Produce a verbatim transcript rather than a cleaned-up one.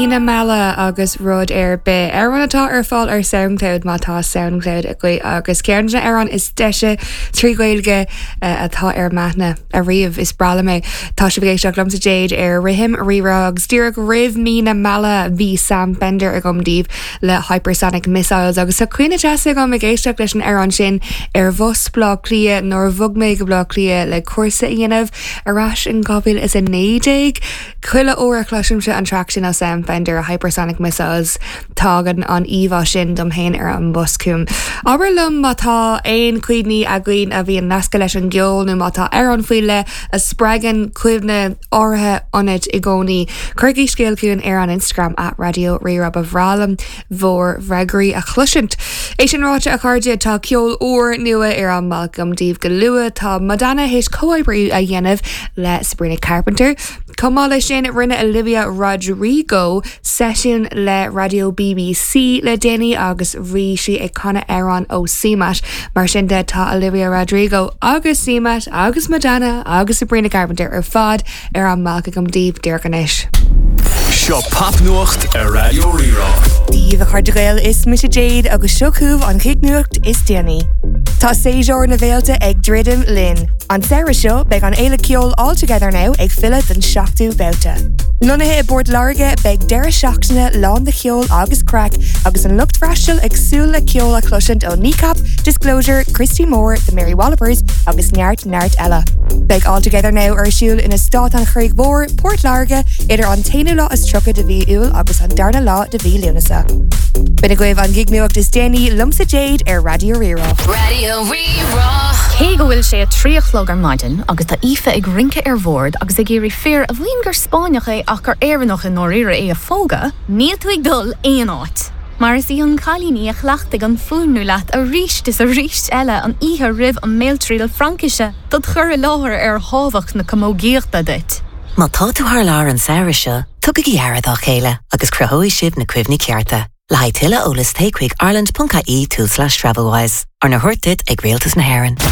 Mí na Meala agus rud ar bith. Amhrán atá ar fáil ar SoundCloud má tá SoundCloud agaibh agus ceann de na hamhráin is deise trí Ghaeilge uh, atá ar m'aithne ariamh is breá liom é. Tá sibh ag éisteacht liomsa Jade ar Rithim Rírá agus díreach roimh Mí na Meala bhí Sam Fender agam daoibh le Hypersonic Missiles agus tá cuimhne deas agam ag éisteacht leis an amhrán sin ar bhus Bleá Cliath nuair a bhog mé go Bleá Cliath le cúrsa a dhéanamh ar ais in dhá mhíle is a naoi déag. Chuile uair a chloisimse an traic sin ó Sam Fender Hypersonic Missiles tagann an íomhá sin dom féin ar an bus chugam. Abair liom má tá aon chuimhní againn a bhíonn nasctha leis an gceol nó má tá amhrán faoi leith a spreagann cuimhne áirithe ionat i gcónaí. Cuirigí scéal chugainn ar an Instagram at Raidió Rí-Rá ba bhreá liom bhur bhfreagraí a chloisint. É sin ráite a chairde tá ceol úr nua ar an mbealach agam daoibh go luath tá Madonna théis comhoibriú a dhéanamh le Sabrina Carpenter. Chomh maith leis sin rinne Olivia Rodrigo seisiún le Radio BBC le déanaí agus bhí sí ag canadh amhrán ó CMAT mar sin de tá Olivia Rodrigo agus CMAT agus Madonna agus Sabrina Carpenter ar fad ar an mbealach agam daoibh díreach anois. Seo popnuacht ar Raidió Rí-Rá. Dia daoibh a chairde Gael is mise Jade agus seo chugaibh an chignuacht is déanaí. Tá séasúr na bhféilte ag druidim linn. An samhradh seo beidh an fhéile ceoil All Together Now ag filleadh don seachtú babhta. Lonnaithe i bPort Láirge beidh deireadh seachtaine lán de cheol agus craic agus an lucht freastail ag súil le ceol a chloisint ó Kneecap, Disclosure, Christy Moore, The Mary Wallopers agus neart neart eile. Beidh All Together Now ar siúl in Eastát an Chreig Mhór, Port Láirge idir an t-aonú lá is tríocha de mhí Iúil agus an darna lá de mhí Lúnasa. B'in agaibh an gignuacht is déanaí liomsa Jade ar Raidió Rí-Rá. Raidió Rí-Rá. Cé go bhfuil sé a trí a chlog ar maidin agus tá Aoife ag rince ar bhord agus ag iarraidh fear a mhaíonn gur Spáinneach é ach gur Éireannach i ndáiríre é a phógadh, níl tú ag dul aon áit. Mar is í an cailín í a chleachtaigh an fuaimniú leat arís is arís eile an oíche roimh an mbéaltriail Fraincise dod chur i láthair ar thábhacht na camógaíochta duit. Má tá tú thar lear an samhradh seo, tugaigí aire dá chéile agus cruthóidh sibh na cuimhní cearta. Le haghaidh tuilleadh eolais téigh chuig ireland.ie tulslais Travelwise, arna thabhairt duit ag Rialtas na hÉireann.